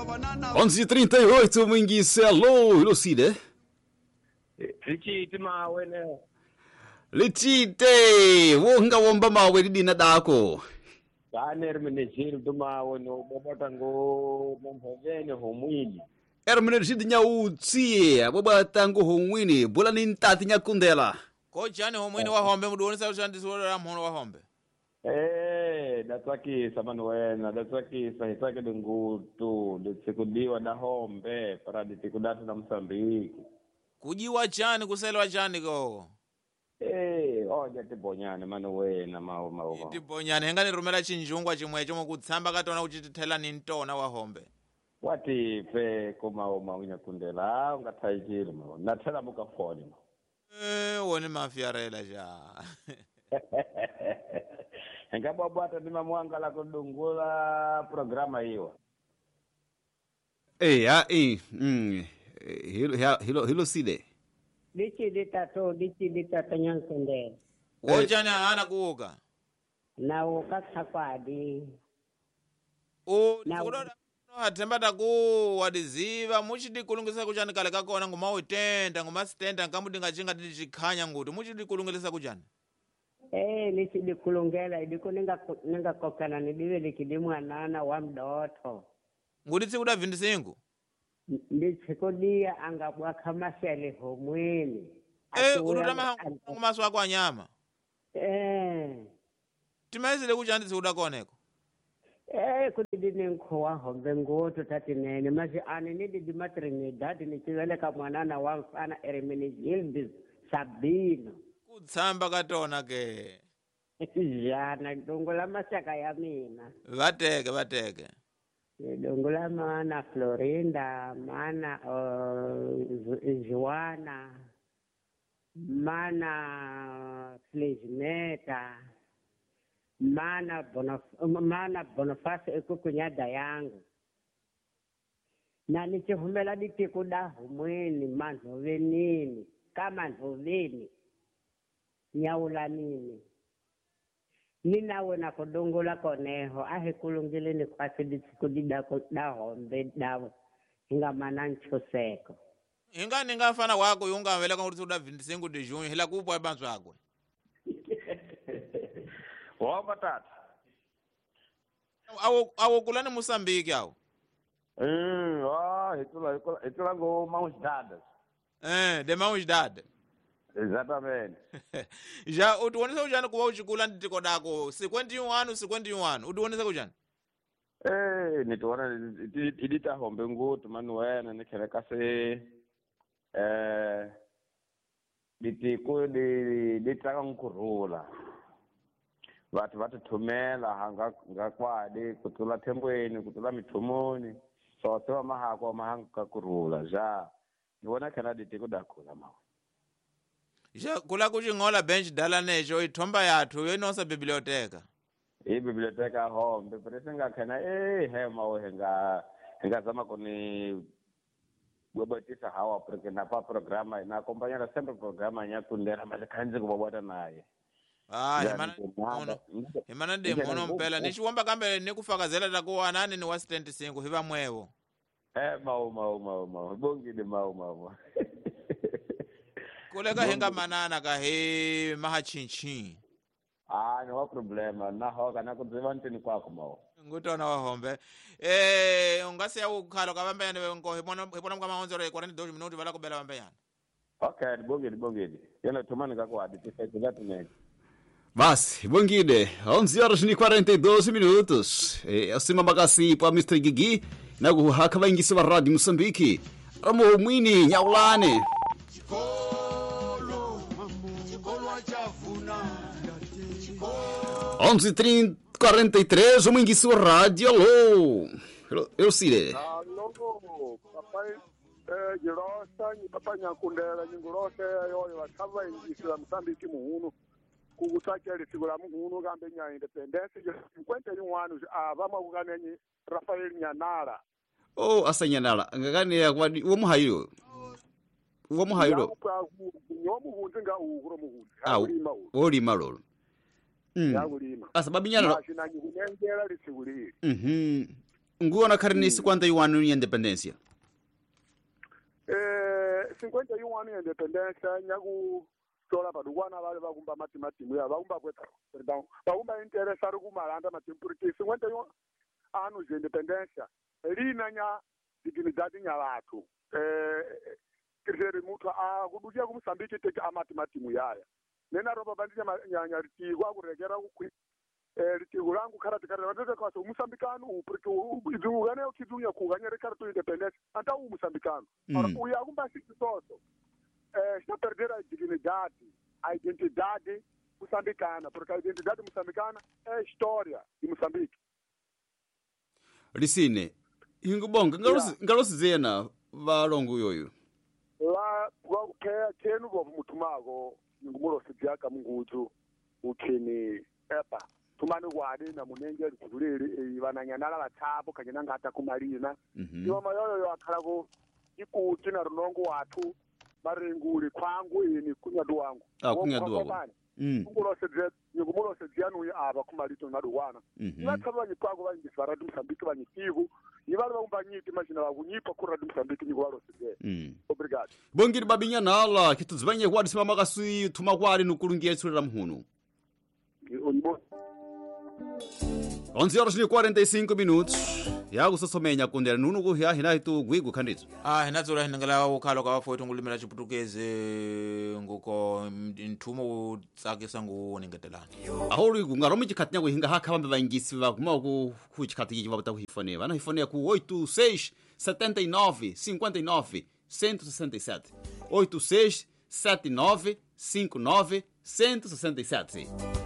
11:38 mwingise alô Lucide. Lichiti mawe ne. Lichite wonga womba mawe lidina dako. Kane Hermenegildo mawe no bobota ngo momhovene homwini. Hermenegildo nyautsi bobota ngo homwini bula ni ntati nyakundela. Kochani homwini wa hombe muduonesa ushandiswa mhono wa hombe. Datsakisa mani wena datsakisa hi tsakele ngutu nditsikudiwa da hombe para nditikudatu na Mosambiki. Kujiwa chani kuselwa chani koko? Oja tibonyane mani wena mawo mawo. Tibonyane henga nirumela chinjungwa chimwecho mukutsamba katona uchitithela ni ntona wa hombe. Watife kumawo maunyakundela ungathayikile mawo nathela mukafoni ma. Woni mafiarela ja. Ngabwabwata ndi mamwanga la kudungula programa hiyo. Hilo hilo sile. Lichi litatu nyankundela. Wochana ana kuuka. Na uka khakwadi. O kudoda hatemba taku wadiziva muchidi kulungisa kuchani kale kakona ngoma uitenda ngoma sitenda ngamudinga chinga tichikhanya nguti muchidi kulungisa kuchani. Lichidi kulungela idiko ninga kokana nidiwe likidi mwanana wa mdoto. Nguti tsikuda 25? Nditsikudia angabwakha masele homwini. Urutama maso ako anyama. Timaizile kuchani tsikuda koneko? Kuti ndinenkho hombe ngutu tatinene masi ani nididi matrinidad nichiveleka mwanana wa mfana Hermenegildo Sabino. Kutsamba katona ke. Jana dungula masaka ya mina. Vateke. Dungula mana Florinda, mana Joana, mana Flismeta, mana Boniface ekukunyada yangu. Na nichihumela ditikuda humweni manhovenini kama nhoveni. Nyaula nini ninawe na kudungula koneho ahe kulungile ni kwasi ditsikudida da hombe dawo ingamana nchoseko inga ningafana wako yunga vela ka kuti uda 25 de junho hila kupwa bantu akwe womba tata awo kulani Mosambiki awo hitula ngo mãos dadas de mãos dadas. Exatamente. Já utuonesa ujani kuwa uchikula nditiko dako 51 51 utuonesa kujani? Nituona idita hombe ngutu mani wena nikheleka se ditiko di tsaka nkurhula. Vathu va tithumela hanga ngakwadi kutlula thembweni kutlula mithumoni so se va mahako mahanga kurhula ja ni vona khena ditiko dakula mawe. Ja kula kuchingola bench dala necho ithomba yathu yoinosa biblioteka. I biblioteka hombe pero nga khena he mawe hinga zama kuni bwebwetisa hawa porque na pa programa na acompanhar sempre programa nyakundela mas khanzi kubwabwata naye. Himana de mono mpela nichiwomba kambe nikufakazela takuwa nani ni wa 75 hiva mwevo. Mawo bongile mawo. Kuleka hinga manana ka he mahachinchi. No problema na hoka na kudziva ntini kwako mawo. Ngutona wa hombe. Ungasiya ukhalo ka vambeyane ngo hipona mkama 11:42 minuti vala kubela vambeyane. Okay, bongile. Yena thumani kako aditi ngatinene. Basi, bongile. 11:42 minutos. Acima bagasi pa Mr. Gigi na kuhaka vaingisi va Radio Mosambiki. Ramo mwini nyaulane. 11:43, o Minguiço Rádio, alô! Eu Cire. Alô, papai, Girosa, papai Nyakundela, Nyingurose, yoyo, vakava ingisi la Mosambiki muhunu, kukutsakela siku la muhunu kambe nya independence, 51 anos, vama kukanenyi Rafael Nyanala. Oh, asa Nyanala, ngakani ya kwadi, uwo muhairo. Uwo muhairo. Nyomuhunzi nga uhuro muhunzi. Olima lolo. Yakulima. Asa babi Nyanala. Mashinanyi kunengela litsiku lili. Nguona khari ni 51 anos ya independência. 51 anos ya independência nyaku tola padukwana vale vakumba matimatimu ya vakumba kweta perdão vakumba interessa ri kumalanda matimu porque 51 anos de independência lina nya dignidade nya vathu tireri muthu a kudukia ku Mozambique teke a matimatimu yaya nena roba bandija nya ritiko akurekera ku ritiko langu karati karati vatete kwa so Mozambicano u porque idzungane ukidzunya kuganya rekarto independence anta u Mozambicano ora uya kumba sitoso está a perder a dignidade, a identidade moçambicana, porque a identidade moçambicana é a história de Moçambique. Lisine, ingubonga ngalosizena valongo yoyo. La kwa kenu bovu mutumako ngumulosidyaka munguzu ukhini epa tumani kwadi na munenge likulili vananyanala vathapo kanye nangata kumalina. Iwa mayoyo yo akhala ku ikuti na runongo wathu maringuli kwangu ini kunyadu wangu. Kunyadu wangu. Ngumulosedzia nuyi ava kumalito naduwana. Ivatsava vanyikwako vanyingisi va Radio Mozambique vanyitiku ivali vakumba nyiti machina vakunyipa ku Radio Mozambique nyiko valosedzea. Obrigado. Bongiri babinyanala kitudzivanye kwadi simama kasi thuma kwadi nukulungia tsulera muhunu. 11 horas e 45 minutos. Yakusotsomenya kundela nunu kuhya hina itu gwigu khanditso. Hinadzula hinangela ukhalo ka vafowethu ngulimela chiputukezi nguko nthumo utsakisa nguningetelana. Aholi kungaromi chikhati nyako hinga hakha vambe vaingisi va kuma ku chikhati ichi vavuta kuhifone. Vana hifone ku 86 79 59 167. 86 79 59 167.